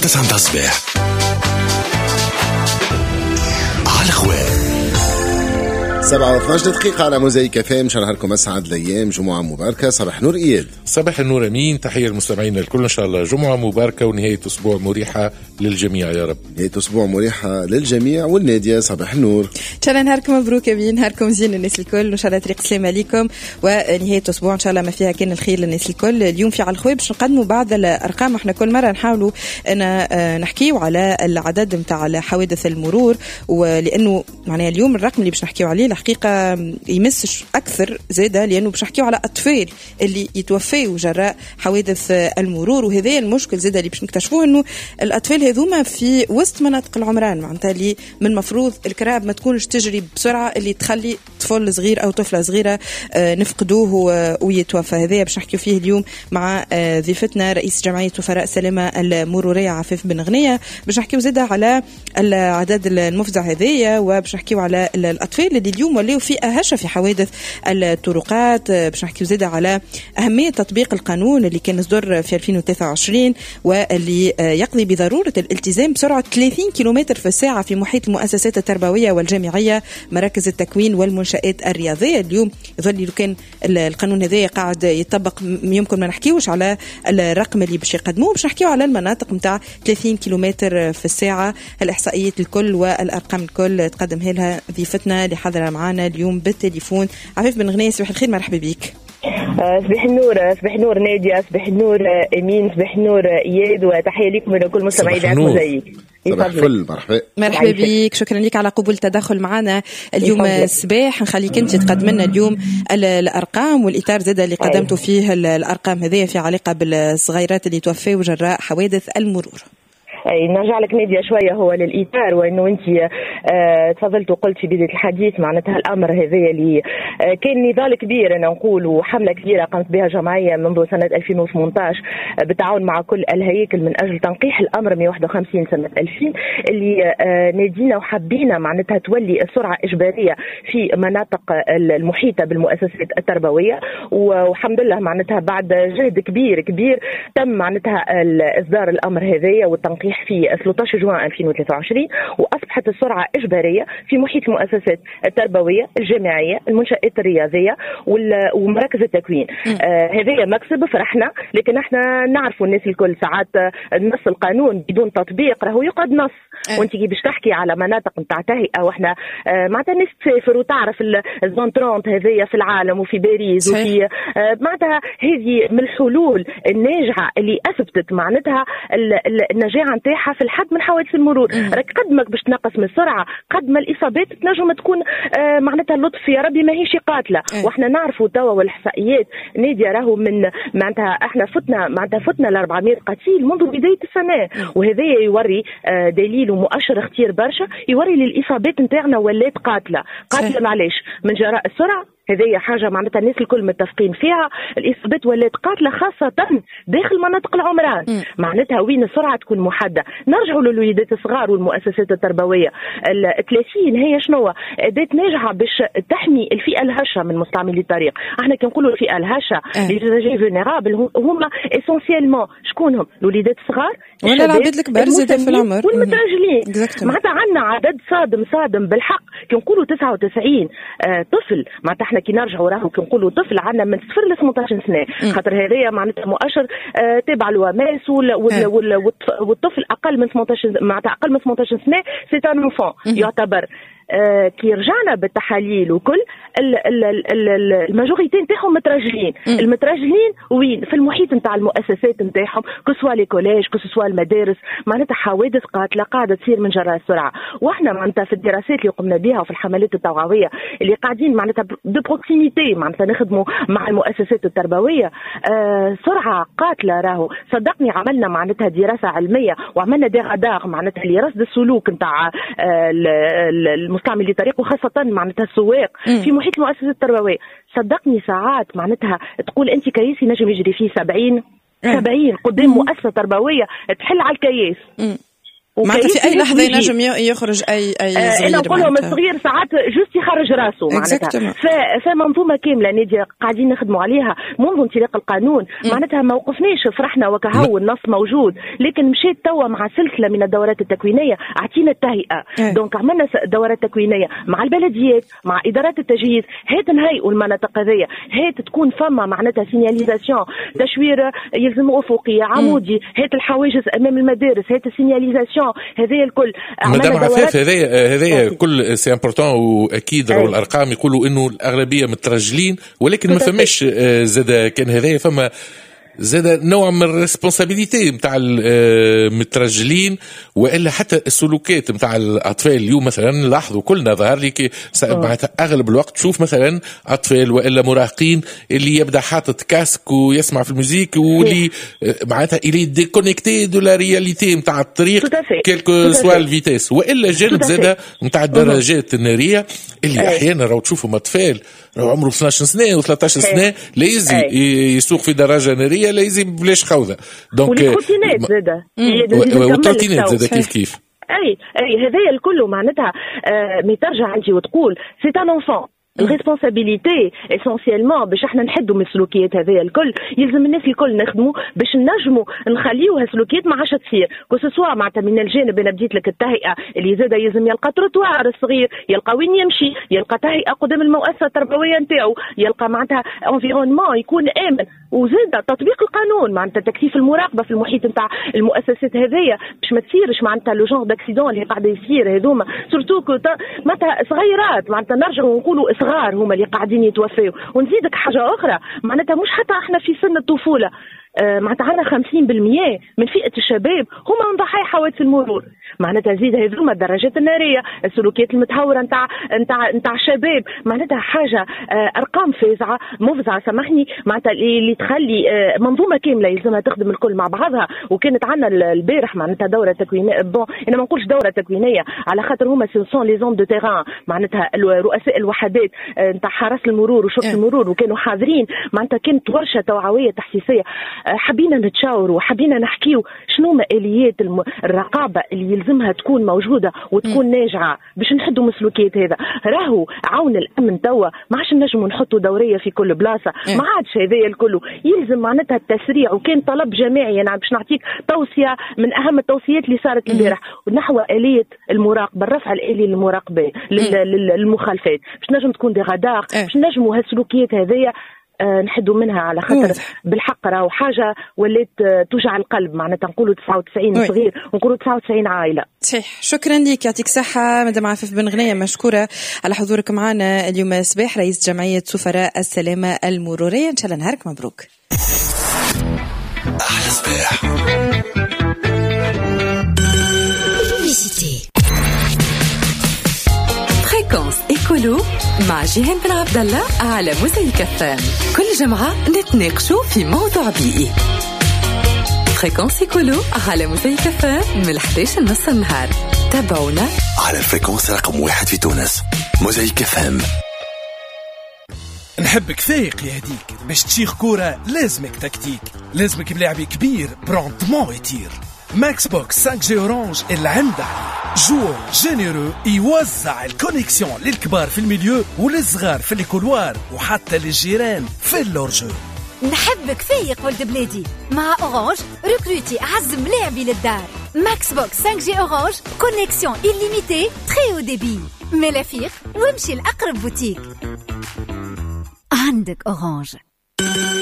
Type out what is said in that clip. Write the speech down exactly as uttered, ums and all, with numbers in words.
تسعة متاع الصباح على الخواء. سبعة واثناش دقيقة على موزايك اف ام. نهاركم أسعد الأيام، جمعة مباركة. صباح نور إياد. صباح النور أمين، تحية المستمعين الكل، إن شاء الله جمعة مباركة ونهاية أسبوع مريحة للجميع يا رب. نهاية أسبوع مريحة للجميع. والنادية صباح النور. إن شاء الله نهاركم مبروك أمين، نهاركم زين الناس الكل، وإن شاء الله طريق سلامة ليكم ونهاية أسبوع إن شاء الله ما فيها كان الخير للناس الكل. اليوم في على الخوي باش نقدموا بعض الأرقام، احنا كل مرة نحاولوا أن نحكيو على العدد نتاع حوادث المرور، ولأنه معناها اليوم الرقم اللي باش نحكيو عليه الحقيقة يمسش أكثر زادة، لأنه باش نحكيو على أطفال اللي يتوفيوا جراء حوادث المرور، وهذا المشكل زادة اللي باش نكتشفوه أنه الأطفال هذوما في وسط مناطق العمران، معناتها اللي من المفروض الكراب ما تكونش تجري بسرعة اللي تخلي طفل صغير أو طفلة صغيرة نفقدوه ويتوفى. هذا باش نحكيو فيه اليوم مع ضيفتنا رئيس جمعية وفراء سلامة المرورية عفاف بن غنية، باش نحكيو زادة على العدد المفزع هذايا، وباش نحكيو على الأطفال اللي اليوم ولاو فئة هشة في حوادث الطرقات، باش نحكيو زادة على أهمية تطبيق القانون اللي كان صدر في ألفين وثلاثة وعشرين واللي يقضي بضرورة الالتزام بسرعة ثلاثين كيلومتر في الساعة في محيط المؤسسات التربوية والجامعية، مراكز التكوين والمنشآت الرياضية. اليوم يظل لو كان القانون هذا قاعد يطبق يمكن ما نحكيوش على الرقم اللي باش يقدموه، باش نحكيو على المناطق نتاع ثلاثين كيلومتر في الساعة. الإحصائيات الكل والأرقام الكل تقدمها لها ضيفتنا اللي حاضرة معنا اليوم بالتليفون، عفاف بن غنية. صباح الخير، مرحبا بك. صباح النور، صباح النور نادية، صباح النور أمين، صباح النور إياد، وتحية لكم ولكل مستمعي إذاعة موزايك. صباح الفل، مرحبا. مرحبا بك، شكرا لك على قبول التدخل معنا اليوم الصباح. نخليك انت تقدم لنا اليوم الارقام والاطار زاد اللي قدمتوا فيه الارقام هذه في علاقة بالصغيرات اللي توفوا جراء حوادث المرور. اي نرجع لك نادية شوية هو للاطار، وانه انت اه تفضلت وقلت في بداية الحديث معناتها الامر هذا اللي اه كان نضال كبير انا نقول، وحمله كبيرة قامت بها جمعية منذ سنة ألفين وثمانية عشر بالتعاون مع كل الهياكل من اجل تنقيح الامر مئة وواحد وخمسين سنة ألفين اللي اه نادينا وحبينا معناتها تولي السرعة اجباريه في مناطق المحيطة بالمؤسسات التربوية، والحمد لله معناتها بعد جهد كبير كبير تم معناتها اصدار الامر هذايا والتنقيح في ثلاثة عشر جوان ألفين وثلاثة وعشرين، واصبحت السرعة اجباريه في محيط المؤسسات التربوية الجامعية، المنشات الرياضية ومراكز التكوين. آه هذا مكسب فرحنا، لكن احنا نعرفوا الناس الكل ساعات نص القانون بدون تطبيق راهو يقعد نص. وانت كي باش تحكي على مناطق نتاع تهيئة، واحنا آه معناتها الناس تسافر وتعرف ال zone ثلاثين هذيا في العالم وفي باريس وفي آه معناتها هذه من الحلول الناجعه اللي اثبتت معناتها النجاعه نتاعها في الحد من حوادث المرور. راك قد ما باش تنقص من السرعة قد ما الاصابات تنجم تكون آه معناتها اللطف يا ربي ماهيش قاتله. واحنا نعرفوا توا والاحصائيات ناديه راهو من معناتها احنا فتنا معناتها فتنا ل أربعمئة قتيل منذ بداية السنة، وهذا يوري آه دليل ومؤشر خطير برشا يوري للاصابات نتاعنا ولات قاتله. قاتله معليش من جراء السرعة، هذه حاجة معناتها الناس الكل متفقين فيها. الإصابات ولات قاتلة خاصة داخل مناطق العمران، معناتها وين السرعة تكون محددة. نرجعوا للوليدات الصغار والمؤسسات التربوية. ال ثلاثين هي شنو؟ أداة ناجعة باش تحمي الفئة الهشة من مستعملي الطريق. احنا كي نقولوا الفئة الهشة les usagers vulnérables هما essentiellement شكون هم؟ الوليدات الصغار ولا العباد الكبار زاد في العمر والمترجلين. معناتها عندنا عدد صادم صادم بالحق. كي نقولوا تسعة وتسعين آه طفل، معناتها احنا كي نرجعوا راهو كي نقولوا طفل عندنا من صفر ل ثمانية عشر سنة، خاطر هذايا معناتها مؤشر آه تابع l'OMS والطفل اقل من ثمانية عشر معناتها اقل من ثمانية عشر سنة c'est un enfant يعتبر. آه كي رجعنا بالتحاليل وكل ال majorité نتاعهم مترجلين. المترجلين وين؟ في المحيط نتاع المؤسسات نتاعهم، que ce soit les collèges que ce soit المدارس. معناتها حوادث قاتله قاعدة تصير من جراء السرعة. واحنا معناتها في الدراسات اللي قمنا بها وفي الحملات التوعوية اللي قاعدين معناتها de proximité معناتها نخدموا مع المؤسسات التربوية، آه سرعة قاتله راهو. صدقني عملنا معناتها دراسة علمية وعملنا des radars معناتها لرصد السلوك نتاع آه المستعمل للطريق وخاصة معناتها السواق في محيط المؤسسات التربوية. صدقني ساعات معناتها تقول انت كياسي نجم يجري فيه سبعين سبعين قدام مؤسسة تربوية تحل على الكياس. معناتها في اي لحظة ينجم يخرج اي اي صغير. انا نقول لهم الصغير ساعات juste يخرج راسه معناتها. فمنظومه كاملة ناديه قاعدين نخدموا عليها منذ انطلاق القانون. معناتها ما وقفناش فرحنا وكهو النص موجود، لكن مشيت توا مع سلسلة من الدورات التكوينيه اعطينا التهيئه. donc عملنا دورات تكوينيه مع البلديات مع ادارات التجهيز، هات نهيئوا المناطق هذيا، هات تكون فما معناتها signalisation، تشوير يلزم افقي عمودي، هات الحواجز امام المدارس، هات ال signalisation، هذه الكل. مدام عفاف هذايا هذايا كل c'est important، واكيد راهو الارقام يقولوا انه الاغلبية مترجلين، ولكن ما فماش زاد كان هذايا فما زاد نوع من ال responsabilité نتاع المترجلين والا حتى السلوكات نتاع الاطفال. اليوم مثلا لاحظوا كلنا ظهر لي معناتها اغلب الوقت تشوف مثلا اطفال والا مراهقين اللي يبدا حاطط casque ويسمع في ال musique واللي معناتها il est déconnecté de la réalité نتاع الطريق quelle que soit ال vitesse، والا جانب زاد نتاع الدراجات النارية اللي احيانا راهو تشوفهم اطفال راهو عمره اثناش سنة وثلاثطاش سنة لا يزي يسوق في دراجة نارية، لا يزي بلاش خوذه. donc وال trottinettes زاده وال trottinettes زاده كيف كيف. اي اي هذايا الكل معناتها آه mais ترجع انت وتقول c'est un enfant ال responsabilité essentiellement باش احنا نحدوا من السلوكيات هذيا الكل. يلزم الناس الكل نخدموا باش نجموا نخليو هالسلوكيات ما عادش تصير، que ce soit معناتها من الجانب انا بديت لك التهيئه اللي زاد يلزم يلقى تروتوار الصغير، يلقى وين يمشي، يلقى تهيئة قدام المؤسسة التربوية نتاعو، يلقى معناتها environnement يكون امن، وزاد تطبيق القانون معناتها تكثيف المراقبة في المحيط نتاع المؤسسات هذيا باش ما تصيرش معناتها le genre d'accidents اللي قاعدة يصير هذوما، surtout معناتها صغيرات معناتها نرجعوا ونقولوا صغار هما اللي قاعدين يتوفاو. ونزيدك حاجة اخرى معناتها مش حتى احنا في سن الطفولة، آه معناتها عندنا خمسين بالمية من فئة الشباب هما من ضحايا حوادث المرور. معناتها زيد هذوما الدراجات النارية، السلوكيات المتهوره نتاع نتاع نتاع الشباب، معناتها حاجة آه ارقام فازعه مفزعه سامحني معناتها اللي تخلي آه منظومة كاملة يلزمها تخدم الكل مع بعضها. وكانت عندنا البارح معناتها دوره تكوينيه، bon انا ما نقولش دوره تكوينيه على خاطر هما ce sont les hommes de terrain معناتها رؤساء الوحدات نتاع حرس المرور وشرطه المرور، وكانوا حاضرين معناتها كانت ورشه توعوية تحسيسيه. حبينا نتشاوروا وحبينا نحكيو شنو ما اليات الرقابة اللي يلزمها تكون موجودة وتكون ناجعة باش نحدوا من السلوكيات هذا. راهو عون الامن توا ما عادش نجموا نحطوا دورية في كل بلاصة، ما عادش هذايا الكل، يلزم معناتها التسريع. وكان طلب جماعي، انا باش نعطيك توصية من اهم التوصيات اللي صارت البارح نحو اليه المراقبة، الرفع الالي للمراقبه للمخالفات باش نجم تكون des radars، باش نجموا هالسلوكيات هذيا آه نحدوا منها على خاطر بالحق راهو حاجة ولات توجع القلب معناتها نقولوا تسعة وتسعين صغير ونقولوا تسعة وتسعين عائلة. صحيح، شكرا لك، يعطيك صحة مدام عفاف بن غنية، مشكورة على حضورك معنا اليوم صباح، رئيس جمعية سفراء السلامة المرورية. ان شاء الله نهارك مبروك. احلى صباح. Fréquence Écolo مع جيهان بن عبد الله على موزايك اف ام، كل جمعة نتناقشوا في موضوع بيئي. Fréquence Écolo على موزايك اف ام من إحداش لنص النهار، تابعونا على ال fréquence رقم واحد في تونس موزايك اف ام. نحبك فايق يهديك باش تشيخ كورة، لازمك تكتيك، لازمك ملاعب كبير ب rendement يطير. Max Box خمسة G Orange اللي عنده joueur généreux يوزع ال connexion للكبار في ال milieu وللصغار في ال couloir وحتى للجيران في ال hors-jeu. نحبك فايق ولد بلادي مع Orange، recruter اعز ملاعبي للدار. Max Box خمسة G Orange، connexion illimitée très haut débit. ملافيق وامشي لاقرب بوتيك عندك Orange.